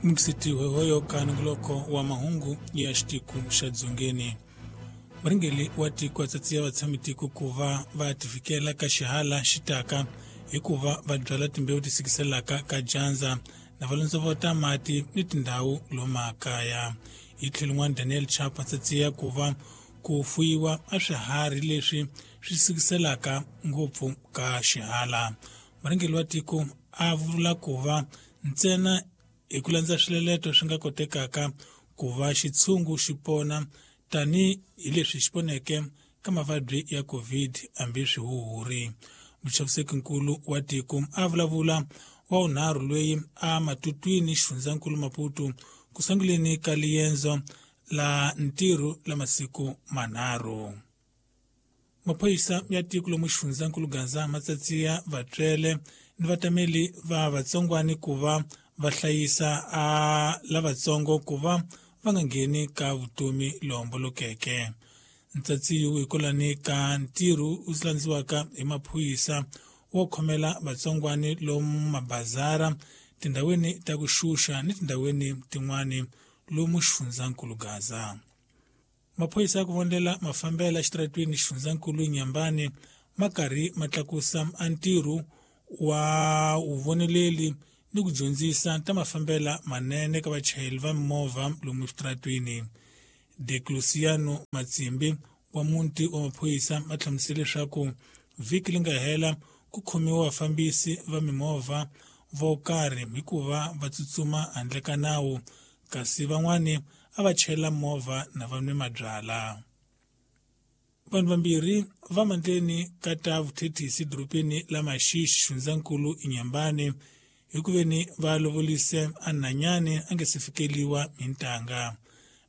Mukisiti hoyo ka nongoloko wa mahungu ya xitiko xa Dzongeni. Murhangeri wa tiko a tsatsiya vatshami-tiko ku va va tivikela ka xihala xitaka hikuva va byala timbewu ti sikiselaka ka dyandza na va londzovota mati ni tindhawu lomakaya. Hi tlhelo rin'wana Daniel Chapo a tsatsiya ku va ku fuyiwa a swiharhi leswi swi sikiselaka ngopfu ka xihala. Murhangeri wa tiko a vula ku va ntsena hi ku landza swileleto swi nga kotekaka ku va xitshungu xi pona tani hi leswi xi poneke ka mavabyi ya COVID hambi swihuhuri. Muchaviseki-nkulu wa tiko a vulavula wa vunharhu loyi a matutwini xifundzankulu Maputo ku sunguleni ka liendzo la ntirho la masiku manharhu. Maphorisa ya tiko lomu xifundzankulu Gaza ma tsatsiya vatswele ni vatameli va vatsongwani ku va va hlayisa a lavatsongo ku va va nga ngheni ka vutomi lohombolokeke. Ntsatsiyo hikwalani ka ntirho wu landziwaka hi maphorisa wo khomela vatsongwani lomu mabazara, tindhawini ta ku xuxa ni tindhawini tin'wani lomu xifundzankulu Gaza. Maphorisa ya ku vonela mafambela exitaratweni xifundzankulu Nyambani ma karhi ma tlakusa a ntirho wa vuvoneleli ni ku dyondzisa ta mafambela manene ka vachayeri va mimovha lomu eswitaratweni. Decluciano Matsimbi wa muti wa maphorisa ma hlamusele leswaku vhiki li nga hela ku khomiwa vafambisi va mimovha vo karhi hikuva va tsutsuma handle ka nawu kasi van'wani a va chayela movha na va nwe mabyala. Vanhu vambirhi va mandleni ka ta vuthethisi dorobeni la Maxixi xifundzankulu Inhambane hi ku veni va lovolise a nhanyani a nge se fikeliwa hi ntanga.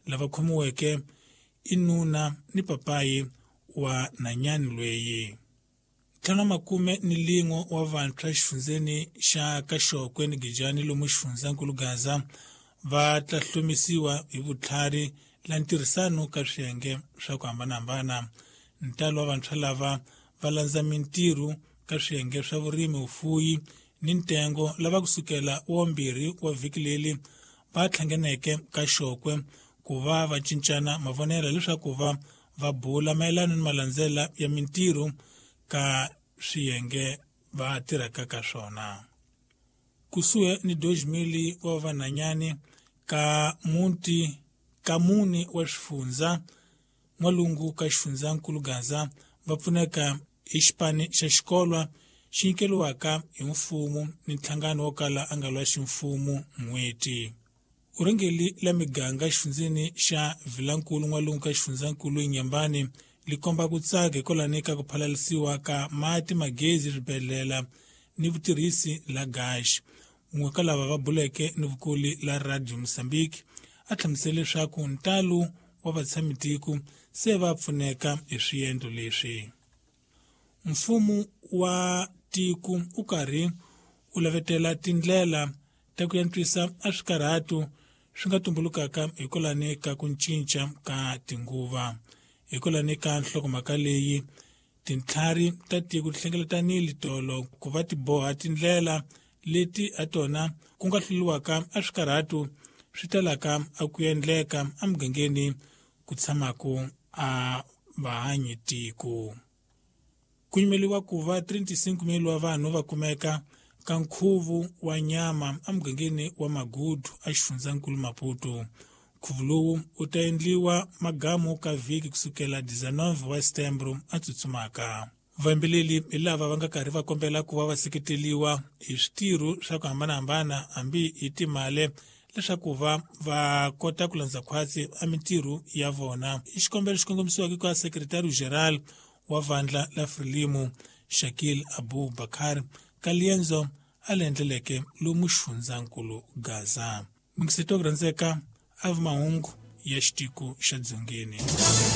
Lava khomiweke i nuna ni papayi wa nhanyani lweyi. 51 wa vantshwa xifundzeni xa Kaxokwe ni Gijani lomu xifundzankulu Gaza va ta hlomisiwa hi vutlhari la ntirhisano ka swiyenge swa ku hambanahambana. Ntalo wa vantshwa lava va landza mintirho ka swiyenge swa vurimi, vufuyi ni ntengo lava kusukela wa mbirhi wa vhiki leri va hlanganeke ka Xokwe ku va va cincana mavonelo leswaku va va bula mayelana ni malandzela ya mintirho ka swiyenge va tirhaka ka swona. Kusuhi ni 2000 wa vanhanyani ka muti ka mune wa swifundza n'walungu ka xifundzankulu Gaza va pfuneka hi xipani xa xikolwa xi nyikeriwaka hi mfumo ni nhlangano wo kala a nga lwa ximfumo n'hweti. Urhengeli la miganga xifundzeni xa Vilankulu n'walungu ka xifundzankulu Inhambane li komba ku tsaka hikwalani ka ku phalalisiwa ka mati, magezi, swibedhlela ni vutirhisi la gaxi. Un'we ka lava va buleke ni vukuli la Radio Mozambique a hlamusele leswaku ntalo wa vatshami-tiko se va pfuneka hi swiendlo leswi. Mfumo wa tiko u karhi u lavetela tindlela ta ku antswisa a swikarhato swi nga tumbulukaka hikwalani ka ku cinca ka tinguva. Hikwalani ka nhlokomhaka leyi, tintlhari ta tiko ti hlengeletanile tolo ku va ti boha tindlela leti ha tona ku nga hluriwaka a swikarhato swi talaka a ku endleka emugangeni ku tshamaka a vahanyi tiko. Ku nyimeliwa ku va 35 wa vanhu va kumeka ka nkhuvo wa nyama emugangeni wa Magudu a xifundzankulu Maputo. Nkhuvo lowu wu ta endliwa magamu ka vhiki kusukela 19 wa Setembro a tsutsumaka. Vayimbeleri hi lava va nga karhi va kombela ku va va seketeliwa hi switirho swa ku hambanahambana hambi hi timali leswaku va va kota ku landza khwatsi a mintirho ya vona. I xikombelo xi kongomisiweke ka Secretary General wa vandla la Frelimo Shakil Abu Bakar ka liendzo a le endleleke lomu xifundzankulu Gaza. Mingiseto ku rhandzeka a vi mahungu ya xitiko xa Dzongeni.